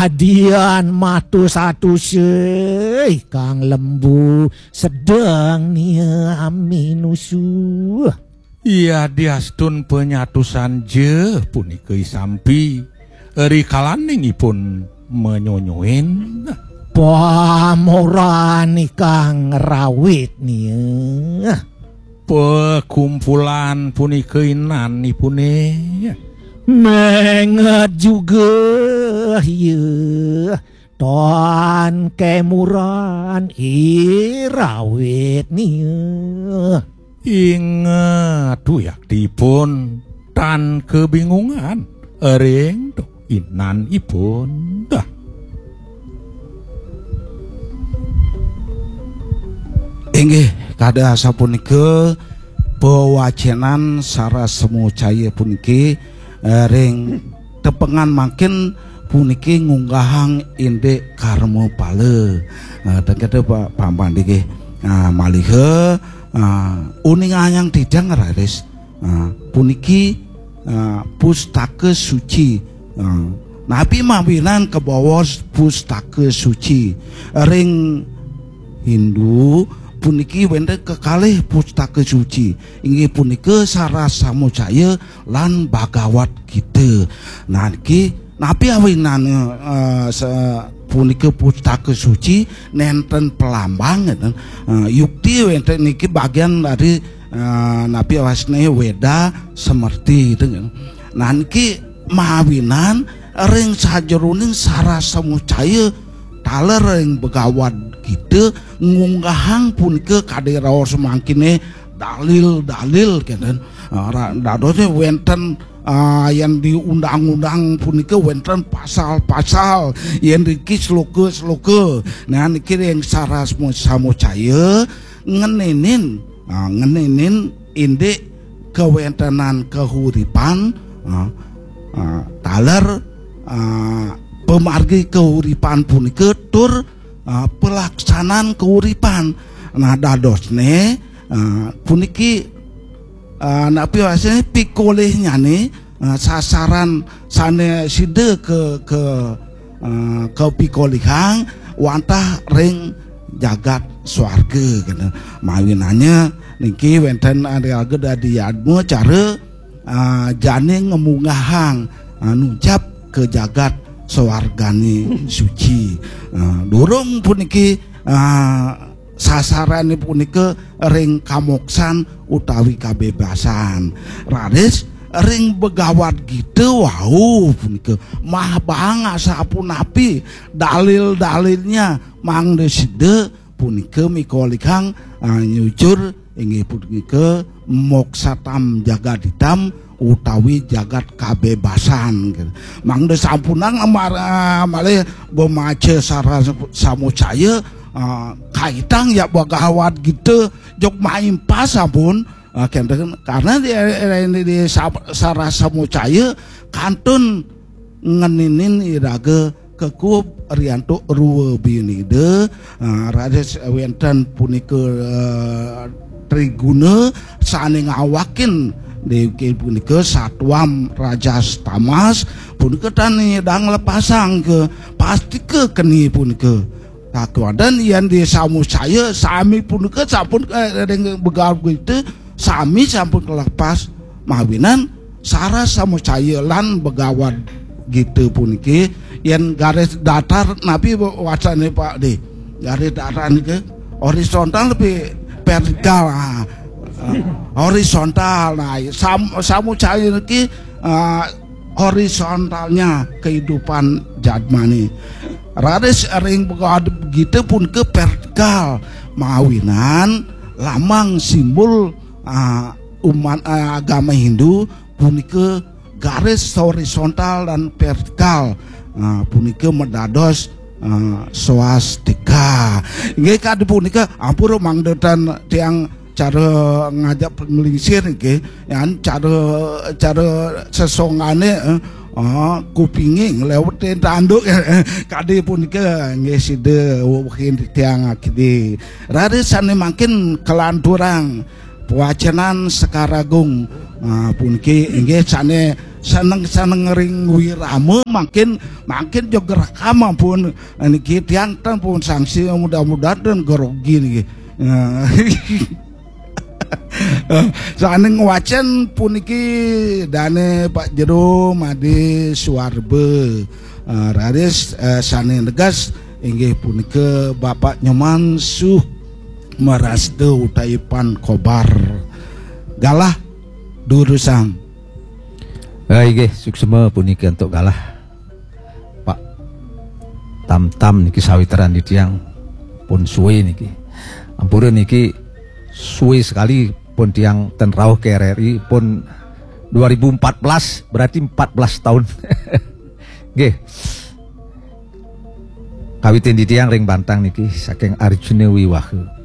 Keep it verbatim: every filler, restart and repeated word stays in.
Dian matus-atus, eh, kang lembu sedeng niami nusu. Iya diastun penyatusan je punika isampi, ri kalaningipun menyonyoin. Pamoran ikang rawit nia. Pekumpulan punika inanipune. Menget juga, iya. Tan kemuran irawit nia. Inget uyaktipun tan kebingungan ring inanipun. Dah. Inggih, kada asapunika pewacenan Sarasemucaya puniki, eh, ring tepengan mangkin puniki ngunggahang indik karma pala. Eh, tengkete pa-, pampandike. Ah, maliha, ah, uningayang titiang raris. Ah, puniki, ah, pustaka suci. Ah, napi mawinan kabaos pustaka suci? Ring Hindu puniki wenten kekalih pustaka suci. Inggih punika Sarasamucaya lan Bhagavad Gita. Nah, niki napi awinan, eh, se-, punika pustaka suci nenten pelambang, ngeten. Eh, yukti wenten niki bagian dari, eh, napi awasne Weda Semerti, ngeten. Nah, niki mawinan ring sajeroning Sarasamucaya taler ring Bhagavad Gita ngunggahang punika kadi raos mangkine dalil-dalil, kenten. Ah, ra-, dadosne wenten, ah, yang di undang-undang punika wenten pasal-pasal, yang niki sloka-sloka. Nah, niki ring Sarasamucaya ngeninin, ah, ngeninin indik kawentenan kahuripan, ah, ah, taler, ah, pamargi kahuripan punika tur, ah, pelaksanan kahuripan. Nah, dadosne, ah, puniki, ah, napi wasane pikolihnyané, ah, sasaran sané sida ke, ke, ah, kapikolihang wantah ring jagat swarga, gitu. Mawinanya niki wenten iraga dadi yadma cara, ah, jani ngemunggahang, ah, nuncap ke jagat swargane suci. Ah, durung puniki, ah, sasarane punika ring kamoksan utawi kabebasan. Raris ring Bhagavad Gita wau punika mah bang asapunapi dalil-dalilnya mangda sida punika mikolihang, ah, nyujur inggih punika moksatam jagaditam utawi jagat kabebasan, gitu. Mangda sampunang amar-, ah, malih gomaca Sarasamucaya, ah, kaitang ya Bhagavad Gita jog maimpas sampun, ah, kenten karena di, di, di Sa-, Sarasamucaya kantun ngeninin iraga kekup riantuk rua binida, ah, raris wenten punika, eh, triguna sane ngawakin dewiki punika satwam rajas tamas punika tan nyidang lepasang ke pastika keni punika. Kakuadan yen di Samucaya sami punika sampun, eh, ring Bhagavad Gita sami sampun kalepas mawinan Sarasamucaya lan Bhagavad Gita puniki. Yen garis datar napi wacane Pak De? Garis datar niki horizontal lebih vertikal. Ah. Ah, horizontal. Nah, sam-, Samucaya niki, ah, horizontalnya kehidupan jadmane. Raris ring Bhagavad Gita punika vertikal mawinan lambang simbol, ah, umat, ah, agama Hindu punika garis horizontal dan vertikal, ah, punika medados, ah, swastika. Inggih kadi punika ampura mangda tan tiang cara ngajak panglingsir nggih, yan cara, cara sesongane, eh, ah, kupinge nglewete tanduk, kadi punika nggih sida wewehin tiang akidi. Raris sane mangkin kalanturang Pewacenan Sekar Agung. Nah, puniki inggih sane seneng-seneng ring wirama, mangkin, mangkin jog rekam ampun. Niki tiang ten pun sangsi, mudah-mudahan ten grogi niki. Nah. Sane ngwacen puniki dane Pak Jero Made Suarba. Eh, raris, eh, sane negas inggih punika Bapak Nyoman Suh Marasta utawi Pan Kobar. Galah durusang. Eh, inggih, suksma punika antuk galah. Pak Tamtam niki sawitran di tiang pun suwe niki. Ampura niki suwe sekali pun tiang ten rauh ke R R I pun dua ribu empat belas, berarti empat belas tahun. Nggih. Kawitin di tiang ring Bantang niki saking Arjuna Wiwaha.